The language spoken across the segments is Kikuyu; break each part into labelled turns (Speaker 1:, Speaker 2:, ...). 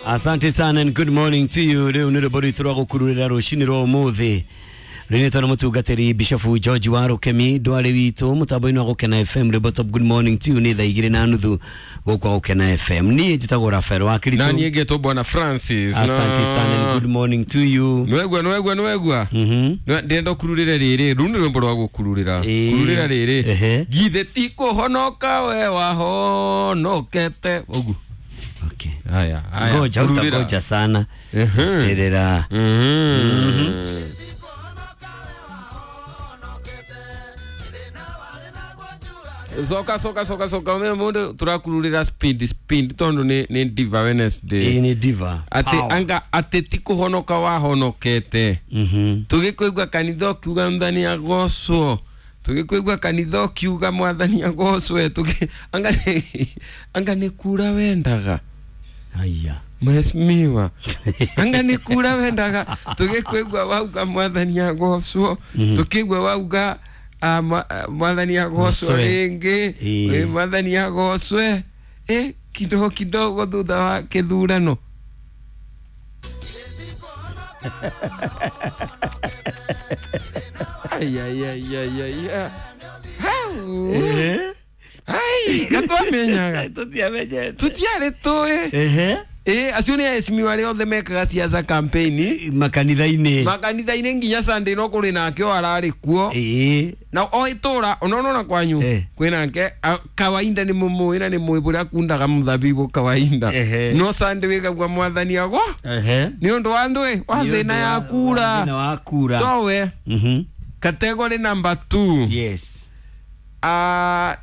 Speaker 1: Asante sana and good morning to you. Rĩu nĩ rwĩmbo rwitũ rwa gũkururĩra rũcinĩ rwa ũmũthĩ. Rĩnĩtwo na mũtungatĩri Bishop George wa Rũkemi ndwarĩ witũ mũtambo-inĩ wa Gũkena FM. Rwĩmbo top good morning to you nĩ thaa 2:30 gũkũ Gũkena FM. Niĩ njĩtagwo Rafael wa Kiritu.
Speaker 2: Na niĩ ngetwo Bwana Francis.
Speaker 1: Asante sana and good morning to you.
Speaker 2: Nwegua nwegua nwegua. Ndĩrenda ũkururĩre rĩrĩ. Rũu nĩ rwĩmbo rwa gũkururĩra. Kururĩra rĩrĩ. Githĩ ti kũhonoka we wahonokete. Ũguo.
Speaker 1: Okay.
Speaker 2: Haya, haya.
Speaker 1: Ngoja utangoja sana. Terera.
Speaker 2: Soka soka soka soka me mundu turakururira speed speed tondu ni Diva Wednesday.
Speaker 1: Ni Diva.
Speaker 2: Ati anga ati ti kuhonoka wahonokete. Tugikuigua kanitha ukiuga mwathani agocwo. Tugikuigua kanitha ukiuga mwathani agocwe. Tugi anga anga ni kura wendaga.
Speaker 1: Haya.
Speaker 2: Mheshimiwa. Anga ni kura wendaga. Tugikuigua wauga mwathani agocwo. Tukigua wauga mwathani agocwo ringi, mwathani agocwe kidogo kidogo thutha wa kithurano. Ai ai ai ai ai. Hau. Ai, gatwamenyaga.
Speaker 1: Tutiamenyete.
Speaker 2: Tutiarĩ tũĩ. Acio nĩ aheshimiwa arĩa othe mekaga siasa campaign
Speaker 1: makanitha-inĩ.
Speaker 2: Makanitha-inĩ nginya Sunday no kũrĩ nake o ararĩ kuo. Na o itũra onona kwanyu kwĩ nake kawaida nĩ mũmũĩ na nĩ mũĩ bũrĩa akundaga mũthabibũ kawaida. No Sunday wĩkagua mwathani agwo. Nĩ ũndũ wa ndũĩ wa thĩna ya kura.
Speaker 1: Thĩna wa kura.
Speaker 2: Towe. Category number 2.
Speaker 1: Yes.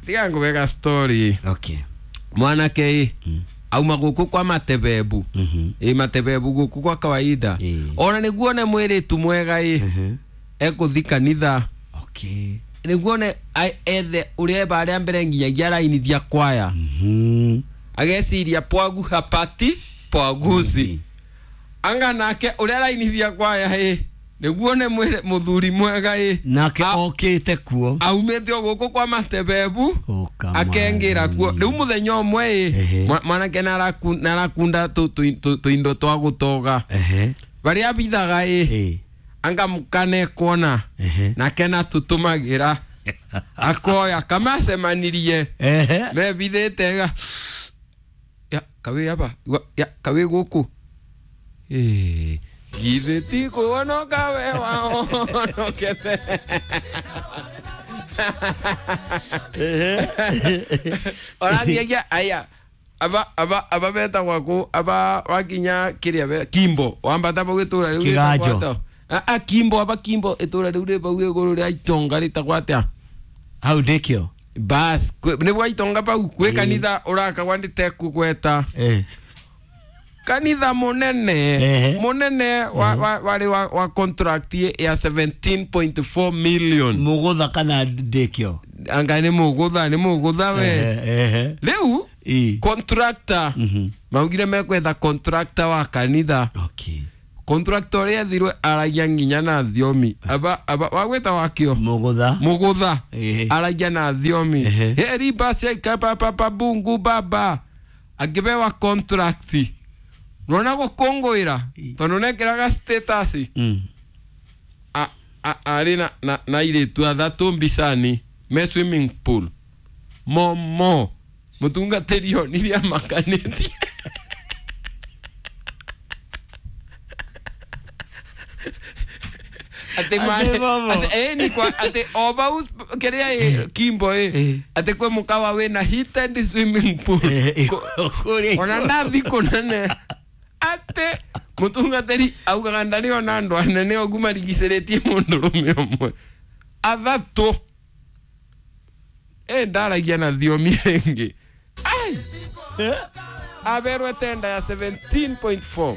Speaker 2: Tiga ngũweka story.
Speaker 1: Okay.
Speaker 2: Mwanake auma guku kwa matebebu. Matebebu guku kwa kawaida. Ona niguo ne mwiritu mwega ekuthi kanitha.
Speaker 1: Okay.
Speaker 2: Niguo ne ethe uria baria mbere nginyagia arainithia kwaya. Ageciria pwagu hapati pwaguzi. Anga nake uria arainithia kwaya niguo ne muthuri mwega
Speaker 1: nake okite kuo
Speaker 2: aumite guku kwa matebebu akengira kuo riu muthenya umwe mwanake narakunda tuindo twa gutoga baria bithaga anga mukane kuona nake natutumagira akoya kamacemanirie mebithite ga ya kawi aba ya kawi guku githĩ ti kũhonoka we wahonokete. Orathiagia aya aba betagwa kũ aba wakinya kĩrĩa Kimbo wambata bau itũra rĩu
Speaker 1: Kĩganjo.
Speaker 2: Kimbo aba Kimbo itũra rĩu rĩ bau igũrũ rĩa Itonga rĩtagwo atĩa?
Speaker 1: Hau ndĩkĩo.
Speaker 2: Bas nĩ gwa Itonga bau gwĩ kanitha ũrakagwa ndĩtekũgweta. Kanitha munene munene wari wa contract ya 17.4 million.
Speaker 1: Mugutha kana ndikio?
Speaker 2: Anga ni mugutha, ni mugutha we. Riu contractor maugire mekwetha contractor wa kanitha.
Speaker 1: Okay.
Speaker 2: Contractor uria ethirwe aragia nginya na thiomi. Aba wagweta wakio?
Speaker 1: Mugutha.
Speaker 2: Mugutha. Aragia na thiomi. Heri basi ka pa bungu baba. Angibewa contract. Nona gũkũngũĩra tondũ nekĩraga status arĩ na airĩtu athatũ mbicani me swimming pool momo mũtungatĩri onirie amakanĩtie. Atĩ o bau kĩrĩa Kimbo atĩ kwĩ mũkawa wĩna heated swimming pool ona ndathi kũnene ate mutungatĩri augaga ndarĩ ona andũ anene ũguo marigicĩrĩtie mũndũrũme ũmwe athatũ ndaragia na thiomi rĩngĩ aberwe tenda ya 17.4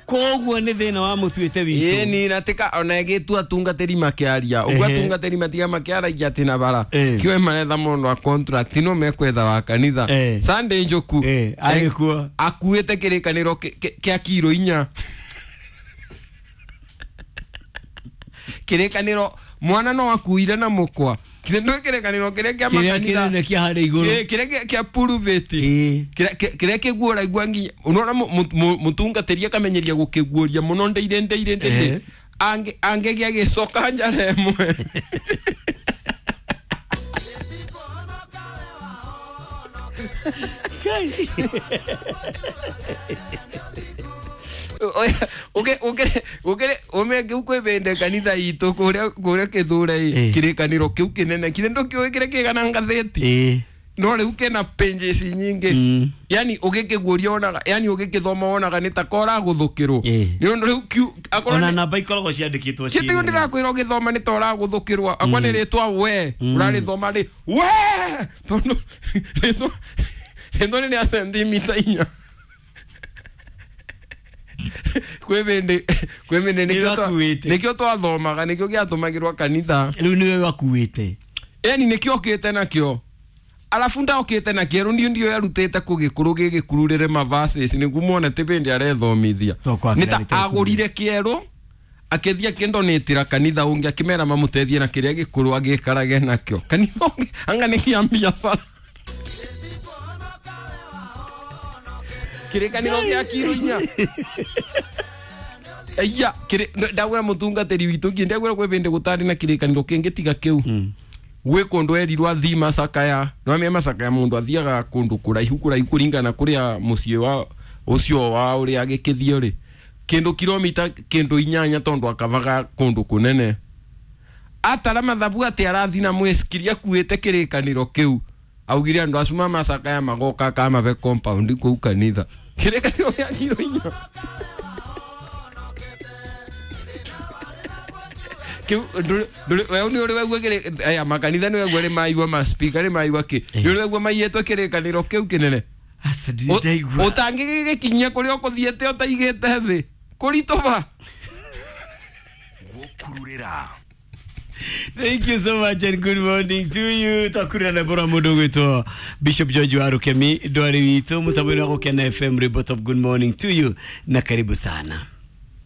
Speaker 1: koguo nĩ thĩna wa mũtuĩte witũ.
Speaker 2: Ĩni na tika ona ĩgĩtua atungatĩri makĩaria ũguo atungatĩri matiga makĩaragia atĩ na bara kĩoe maretha mũndũ wa contract no mekwetha wa kanitha. Sunday Njoku
Speaker 1: arĩ kuo
Speaker 2: akuĩte kĩrĩkanĩro kĩa kiro 4 kĩrĩkanĩro mwana no akuire na mũkwa Kithe ndå kĩrĩkanĩro kĩrĩa kĩa
Speaker 1: kĩrĩa
Speaker 2: makanitha
Speaker 1: kĩnene kĩa harĩa igũrũ.
Speaker 2: Kĩrĩa kĩa pulpit. Kĩrĩa kĩguũragua nginya unaona mũtungatĩri akamenyeria gũkĩguũria mũno ndeire ndeire ndeire angĩgĩa gĩcoka njara ĩmwe. Ũmenge kwĩbĩnde kanitha itũ kũrĩa kĩthure kĩrĩkanĩro kĩu kĩnene kĩrĩa ndũkĩũĩ kĩrĩa kĩgana ngathĩti no rĩu kĩna pages nyingĩ, yani ũgĩkĩguũria wonaga, yani ũgĩkĩthoma wonaga nĩ ta koragũthũkĩrwo nĩ ũndũ rĩu
Speaker 1: akorwo ona namba ikoragwo ciandĩkĩtwo
Speaker 2: ciĩ kĩtĩo ndĩrakwĩra ũgĩthoma nĩ ta ũragũthũkĩrwo akwa nĩ rĩtwa we ũrarĩthoma rĩ we tondũ rĩtwa nĩ rĩa sentimita 4. Kwĩbĩndĩ nĩkĩo twathomaga nĩkĩo gĩatũmagĩrwo kanitha
Speaker 1: rĩu nĩwe wakuĩte,
Speaker 2: yani nĩkĩo okĩte nakĩo alafu ndaokĩte na kĩerũ ndio ndio yarutĩte kũgĩkũrũ gĩgĩkururĩre mavases nĩguo muone tĩ bĩndĩ arethomithia nĩ ta agũrire kĩerũ akĩthiĩ akĩndonĩtĩra kanitha ũngĩ akĩmera mamũteithie na kĩrĩa gĩkũrũ agĩkarage nakĩo kanitha ũngĩ anga nĩ kĩa biacara kĩrĩkanĩro gĩa kiro 4. Aya ndagwĩra mũtungatĩri witũ nginya ndagwĩra kwĩ bĩndĩ gũtarĩ na kĩrĩkanĩro kĩngĩ tiga kĩu gwĩ kũndũ erirwo athii Macakaya no Macakaya mũndũ athiaga kũndũ kũraihu kũraihu kũringana kũrĩa mũciĩ wa ũcio wa ũrĩa agĩkĩthiĩ rĩ kĩndũ kilomita kĩndũ 8 tondũ akavaga kũndũ kũnene atara mathabu atĩ arathi na mwĩcikiria akuĩte kĩrĩkanĩro kĩu augire andũ acu ma Macakaya magoka kamabe compound kũu kanitha kĩrĩkanĩro gĩa kiro 4 kiu we ni uri waigua aya makanitha ni waigua ri maigua ma speaker ri maigua ki ni uri waigua maiyetwo kĩrĩkanĩro kĩu kĩnene ũtangĩgĩgĩkinyia kũrĩa ũkũthiĩte ũtaigĩte thĩ kũritũba.
Speaker 1: Thank you so much and good morning to you. Takurira na bora mundu gwitwo Bishop George Warukemi ndwari witũ mũtambo-inĩ wa Gũkena FM Ribot of good morning to you na karibu sana.